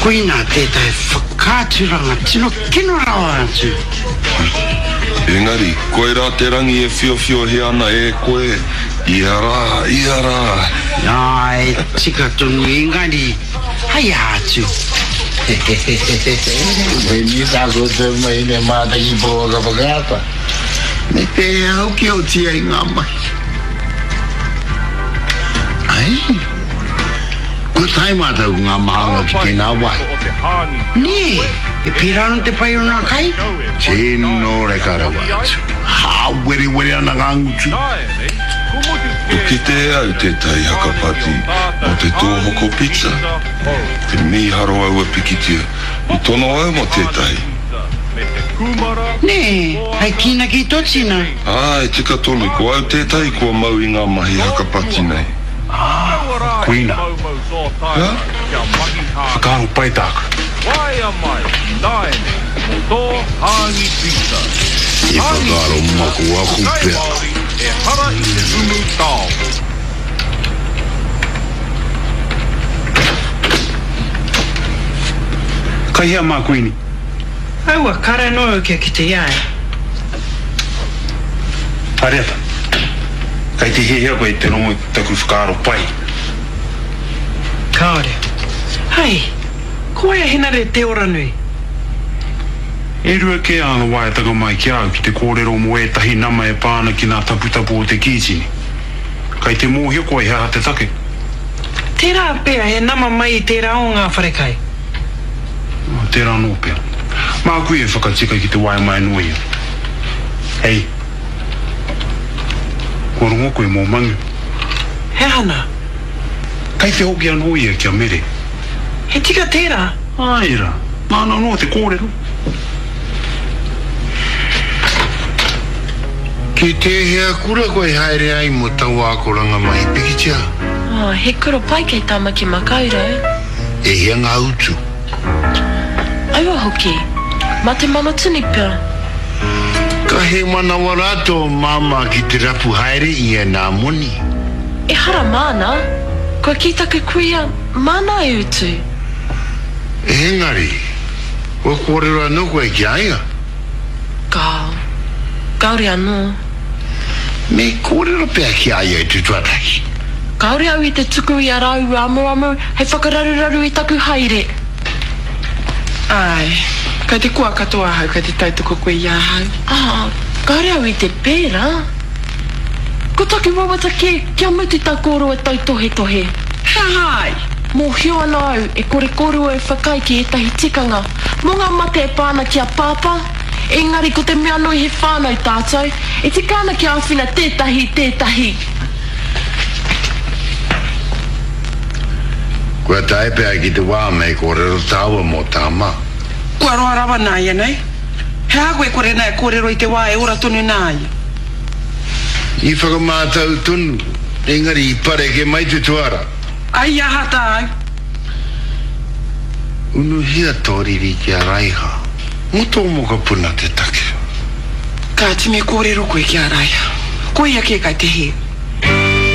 Koinā tētahi whakaaturanga tino kino rawa atu. Engari, koirā te rangi e whiowhiohia ana e koe ia rā, ia rā. Āe, tika tonu, engari, hei aha atu? Koinei tā koutou mahi me mātaki pouaka whakaata. Me pēhea hoki oti ai ngā mahi? Ai, kua tae mātou ko ngā mānga ki tēnā wāhi. Nē, e pērā ana te pai o ngā kai? Tino reka rawa atu. Hāwerewere ana ngā ngutu. Kua kite e au tētahi haka pati mō te tōhoko pizza. Te mīharo aua pikitia. I tono au mō tētahi. Nē, hei kīnaki i tō tina. Āe, tika tonu, ko au tētahi kua mau i ngā mahi haka pati nei. Ā, koina. Hā? Whakaaro pai tāku. I whakaaro makuaku pea. Kai hea mā Kuini? Aua, kare anō au kia kite i a ia. Hariata, kei te hiahia koe te rongo i taku whakaaro pai? Kāore. Hei, ko wai a Henare Te Oranui? E rua kē āna waeatanga mai ki a au ki te kōrero mō ētahi nama e pā ana ki ngā taputapu o te kītini. Kei te mōhio koe he aha te take? Tērā pea he nama mai i tērā o ngā wharekai. Tērā anō pea. Māku ia e whakatika ki te waea mai anō ia. Hei. Kua rongo koe mō Mangu? He aha nā? Kei te hoki anō ia ki a Mere. He tika tērā? Āe rā. Māna anō te kōrero. Ki tēhea kura koe haere ai mō taua akoranga mahi pikitia? Oh, he kura pai kei Tamaki Makaurau. E hia ngā utu? Aua hoki. Mā te manatini pea. Ka hēmanawa rā tō māmā ki te rapu haere i ēnā moni. Ehara māna. Kua kī taku kuia, māna e utu. Engari, kua kōrero anō koe ki a ia? Kāo. Kāore anō. Me kōrero pea ki a ia i te tuatahi. Kāore au i te tuku i a rāua amuamu hei whakararuraru i taku haere. Āe. Kei te koa katoa ahau kei te tautoko koe i ahau. Ā, kāore au i te pērā. Ko taku wawata kē kia mutu tā kōrua tautohetohe. He aha ai? Mōhio ana au e kore kōrua e whakaae ki ētahi tikanga mō ngā mate e pā ana ki a Pāpā, engari ko te mea nui he whānau tātou, e tika ana kia āwhina tētahi i tētahi. Kua tae pea ki te wā me kōrero tāua mō Tama. Kua roa rawa nāianei. He aha koe kore nā e kōrero i te wā e ora tonu nā ia? I whakamātau tonu, engari i pareke mai te tuara. Ai aha tāu? Unuhia tō riri ki a Raiha, mō tō mokopuna te take. Kāti me kōrero koe ki a Raiha. Ko ia kē kai te hē.